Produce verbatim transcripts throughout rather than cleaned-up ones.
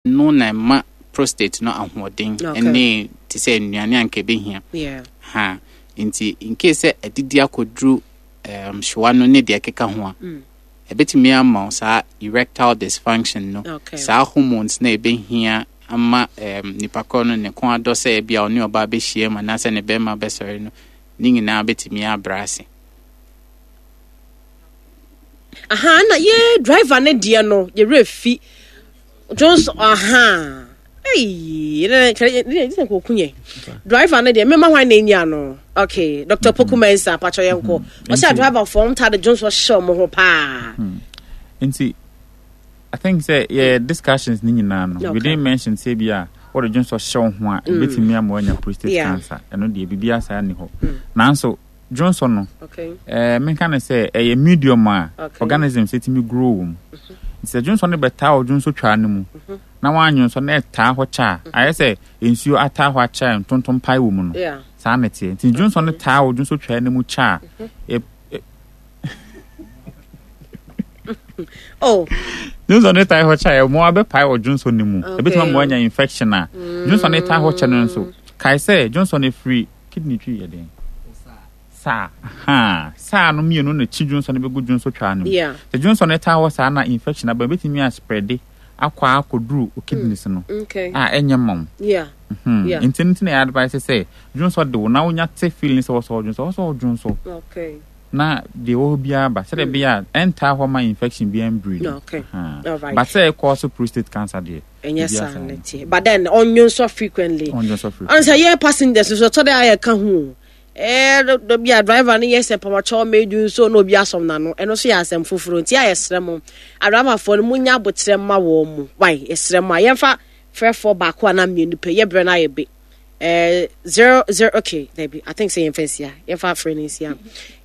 Ɛno na ɛma prostate no ahoɔden Okay. ɛne te sɛ nnuane a nka ɛbɛhia. Yeah. Ha nti in case sɛ adidi akɔduru um, hyewa no ne deɛ ɛkeka ho a, Mm. ɛbɛtumi ama wo saa erectile dysfunction no. Okay. Saa hormones na ɛbɛhia ama um, nipa korɔ no ne kɔn adɔ sɛ ebi a ɔne ɔbaa bɛhyia mu anaasɛ ne bɛrima bɛsɔre no ne nyinaa bɛtumi abrɛ ase. Aha, na ye driver ne deɛ no yɛwerɛ fi Johnson. Aha, ei, ne ne ne ne kɔku yɛ driver ne deɛ mema hwan na ɛnya no. Okay, Doctor Poku Mensa, patwɛ yɛnkɔ. Ɔsɛ Nti- driver fɔm ta de Johnson hyɛ ɔmo ho paa. Nti I think sɛ yɛ discussions ne nyinaa no, Okay. we didn't mention sɛ bi a wɔde dwonsɔ hyɛ wo ho a ɛbɛtumi ama woanya prostate Yeah. cancer. Ɛno deɛ, biribi saa ni hɔ. Nanso dwonsɔ no, okay ɛɛ menka ne sɛ ɛyɛ medium a Okay. organisms ɛtumi grow wɔ mu. Nti sɛ dwonsɔ no bɛtaa wɔ dwonsɔ twaa no mu na woanyonsɔ na ɛtaa hɔ kyɛ a, ayɛ sɛ nsuo ataa hɔ akyɛ a ntontom pae wɔ mu no, yeah saa na ɛteɛ. Nti dwonsɔ no taa wɔ dwonsɔ twaa no mu kyɛ a, ɛ- ɛ- Oh. Dwonsɔ no taa hɔ kyɛ a, ɛmoa bɛpae wɔ dwonsɔ no mu. Okay. Ɛbɛtumi ama woanya infection a dwonsɔ no taa hɔ kyɛ no nso. Kae sɛ dwonsɔ no firi kidney, twi yɛ den, saa ha saa no mmienu na kyi dwonsɔ no bɛgu dwonsɔ twaa no mu. Yeah sɛ dwonsɔ no taa hɔ saa na infection aba, ɛbɛtumi aspread akɔ akɔduru o kidneys no okay a ɛnyɛ ma wo. yeah Hmm. Yeah. Nti no nti na yɛ advice sɛ dwonsɔ de wo na wonya te feeling sɛ wɔsɔ dwonsɔ, wɔsɔ dwonsɔ okay na deɛ ɛwɔ hɔ biara ba sɛdeɛ ɛbɛyɛ a ɛntaa hɔ ma infection biara mbiri no. Okay. Aha. Alright. But sɛ ɛkɔ so prostate cancer deɛ, ɛnyɛ biribiara saa saa ne no. teɛ, but then ɔnyo frequently. Ɔndwonsɔ frequently. Ɔn sɛ yɛ passengers nso, ɛtɔ dɛ ayɛ ka ho o. Ɛɛ dɔ bi a driver no yɛ sɛ pamakyɛw mɛdu nso na obi asɔm n'ano, ɛno nso yɛ asɛm foforɔ. Nti a yɛsrɛ mo, adramafoɔ no, munya abotrɛ ma wɔn mu wai. Yɛsrɛ mo a yɛmfa frɛfoɔ baako anaa mmienu pɛ, yɛbrɛ no ayɛ be ɛɛ zero zero. Okay, dabi, I think sɛ yɛmfa nsia, yɛmfa frɛ no nsia,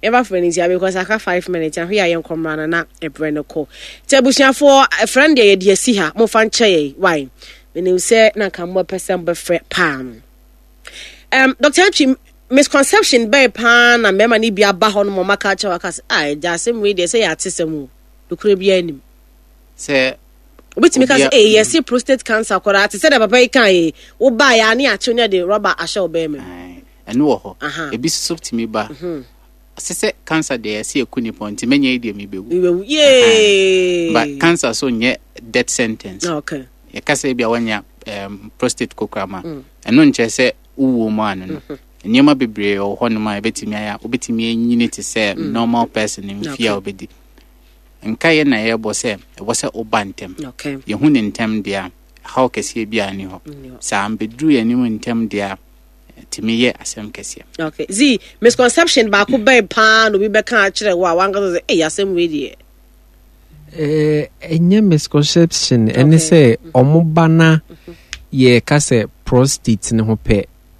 yɛmfa frɛ no nsia because aka five minutes ahwe a yɛnkɔ mmra no na ɛbrɛ no kɔ. Nti abusuafoɔ, ɛfrɛ no deɛ yɛde asi ha, momfa nkyɛ yɛn wai. Menim sɛ na nka mobɛpɛ sɛ mobɛfrɛ paa. um, Doctor Antwi, misconception bɛyɛ paa na mmarima no bi aba hɔ no ma ɔmaka kyerɛ waka sɛ, ah, ɛgya asɛm wei deɛ sɛ yɛ ate sɛm o, nokorɛ biara anim? Sɛ Obitumi ka sɛ obia- ee, yɛse prostate cancer koraa te sɛ deɛ papa yi ka yi, wobaa yɛ a ne akyew ne de rɔba ahyɛ wo bɛrima mu. Ae, ɛno wɔ hɔ. Aha. Ebi soso tumi ba sɛ sɛ cancer deɛ, yɛsɛ yɛku nipa nti mɛnyɛ yi deɛ mebɛwu. Iwewu yee. But cancer so nyɛ death sentence. Okay yɛka sɛ bi a wanya um, prostate kokoram a, ɛno nkyerɛ sɛ wowuo mu ano no. Nneɛma bebree wɔ hɔnom a ɛbɛtumi ayɛ a wobɛtumi anyini te sɛ normal person mfie a wobɛdi. Nka yɛ na yɛbɔ sɛ ɛwɔ sɛ woba ntɛm. Okay yɛhu ne ntɛm deɛ a, haw kɛseɛ bi a ni hɔ. Nni hɔ. Saa mbɛduru yɛn anim ntɛm deɛ a, tumi yɛ asɛm kɛseɛ. Okay, zi misconception baako bɛn paa na obi bɛka akyerɛ wo a wankasa sɛ ei, asɛm wei deɛ? Eh, ɛnyɛ misconception, ɛne Okay. sɛ ɔmo ba na yɛka sɛ prostate ne ho pɛ.